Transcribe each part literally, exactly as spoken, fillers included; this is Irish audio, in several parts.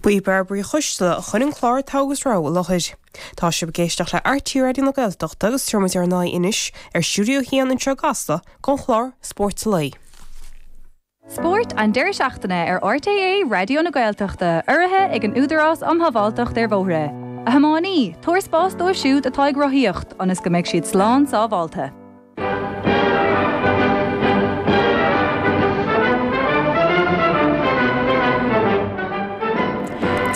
Ba í Bairbre Uí Choisteala a chuir an clár Togha agus Rogha i láthair. Tá sibh ag éisteacht le RTÉ Raidió na Gaeltachta agus tabharfaidh muid ár n-aghaidh anois ar Stiúideo a hAon anseo i gCasla don chlár Spórt an Lae. Spórt an deireadh seachtaine ar RTÉ Raidió na Gaeltachta urraithe ag an Údarás um Shábháilteacht ar Bhóithre. A thiománaí, tabhair spás dóibh siúd atá ag rothaíocht ionas go mbeidh siad slán sábháilte.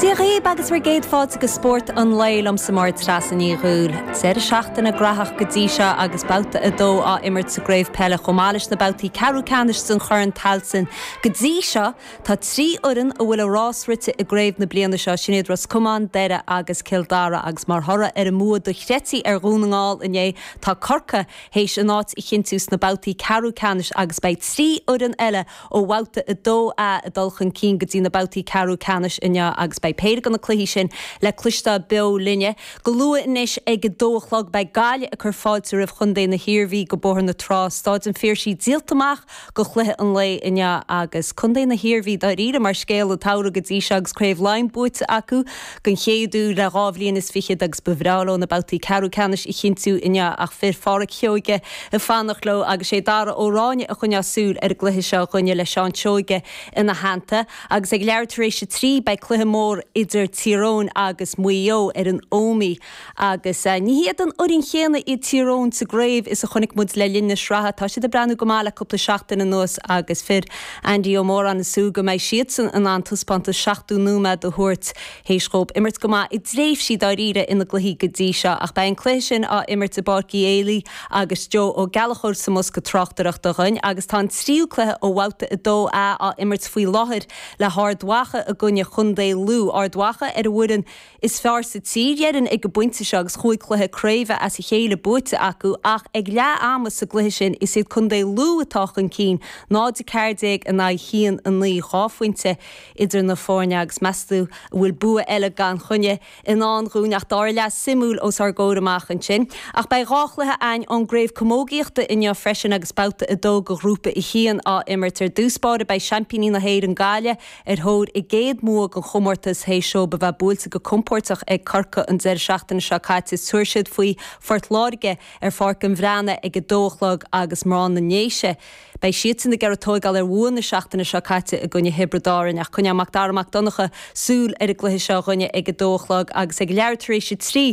Dia dhaoibh agus bhur gcéad fáilte go Spórt an Lae liomsa Máire Treasa Ní Dhúill. Deireadh seachtaine graitheach go dtí seo agus babhta a dó á imirt sa gcraobh peile chomh maith leis na babhtaí ceathrú ceannais den Chorn Tailteann. Go dtí seo tá trí fhoireann a bhfuil a rás rite i gcraobh na bliana seo, sin iad Ros Comáin, Doire agus Cill Dara agus mar thoradh ar an mbua dochreidte ar Dhún na nGall inné tá Corcaigh théis a n-áit a chinntiú sna babhtaí ceathrú ceannais agus beidh trí fhoireann eile ó bhabhta a dó A ag dul chun cinn go dtí na babhtaí ceathrú ceannais inniu agus beidh péire de na cluichí sin le cloisteáil beo linne. Go luath anois ag a dó a chlog beidh Gaillimh ag cur fáilte roimh Chontae na hIarmhí go Bóthar na Trá, Stáid an Phiarsaigh díolta amach go chluiche an lae inniu agus Contae na hIarmhí dáiríre mar scéal an tsamhraidh go dtí seo agus Craobh Laighean buaite acu den chéad uair le dhá bhliain is fichead agus ba bhreá leo na babhtaí ceathrú ceannais a chinntiú inniu ach fir Pháraic Seoige ag fanacht leo agus sé Dara Ó Ráinne a choinneos súil ar an gcluiche seo dhúinne le Seán Seoige ina theannta agus ag leathuair tar éis a trí beidh cluiche mór idir Tír Eoghain agus Maigh Eo ar an Ómaigh agus ní hiad an fhoireann chéanna iad Tír Eoghain sa gcraobh is a chonaic muid le linn na sraithe. Tá siad ag breathnú go maith le cúpla seachtain anuas agus fir Andy Ó Móráin ag súil go mbeidh siadsan in ann taispeántas seachtó nóiméad a thabhairt théis dhóibh imirt go maith i dtréimhsí dáiríre ina gcluichí go dtí seo. Ach beidh an cluiche sin á imirt i bPáirc Uí Éilí agus Joe Ó Gallchóir sa mbosca tráchtaireachta dhúinn agus tá an tríú cluiche ó bhabhta a dó A á imirt faoi láthair le hArd Mhacha i gcoinne Chontae Lú. Ard Mhacha ar an bhfoireann is fearr sa tír, déarfainn, ag an bpointe seo agus chúig chluiche craoibhe as a chéile buaite acu ach ag leath ama sa gcluiche sin is iad Contae Lú atá chun cinn, náid a ceathair déag in aghaidh haon a naoi, dhá phointe idir na foirne agus meas tú an bhfuil bua eile gan choinne i ndán dhúinn ach dara leath suimiúil os ár gcomhair amach ansin. Ach beidh dhá chluiche againn ón gcraobh camógaíochta inniu freisin agus babhta a dó de ghrúpa a haon á imirt. Ar dtús báire beidh seaimpíní na hÉireann Gaillimh ar thóir a gcéad mbua den chomórtas théis dóibh a bheith buailte go compóirteach ag Corcaigh an deireadh seachtaine seo caite. Tabharfaidh siad faoi Phort Láirge ar Pháirc an Bhreathnaigh ag a dó a chlog agus mná na nDéise, beidh siadsan ag iarraidh tóigeáil ar bhua na seachtaine seo caite i gcoinne Thiobraid Árann. Ach coinneoidh Mac Dara Mac Donncha súil ar an gcluiche seo dhúinne ag a dó a chlog agus ag leathuair tar éis a trí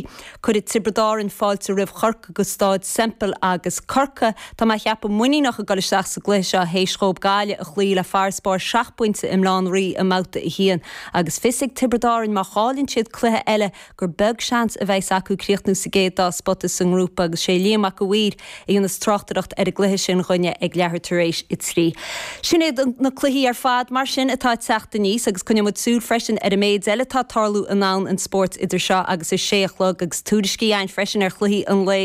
cuirfidh Tiobraid Árann fáilte roimh Chorcaigh go Stáid Semple agus Corcaigh, tá mé a cheapadh, muiníneach ag dul isteach sa gcluiche seo théis dhóibh Gaillimh a chloí le farasbarr seacht bpointe i mBaile Átha an Rí i mbabhta a haon agus fios ag Tiobraid Árann má chailleann siad cluiche eile gur beag seans a bheas acu críochnú sa gcéad dá spota sa ngrúpa agus sé Liam Mac a' Mhaoir a dhéanas tráchtaireacht ar an gcluiche sin dhúinne ag leathuair tar éis a trí. Sin iad na cluichí ar fad mar sin atá ag teacht aníos agus coinneoidh muid súil freisin ar an méid eile atá ag tarlú i ndomhan an spóirt idir seo agus a sé a chlog agus tuairiscí againn freisin ar chluichí an lae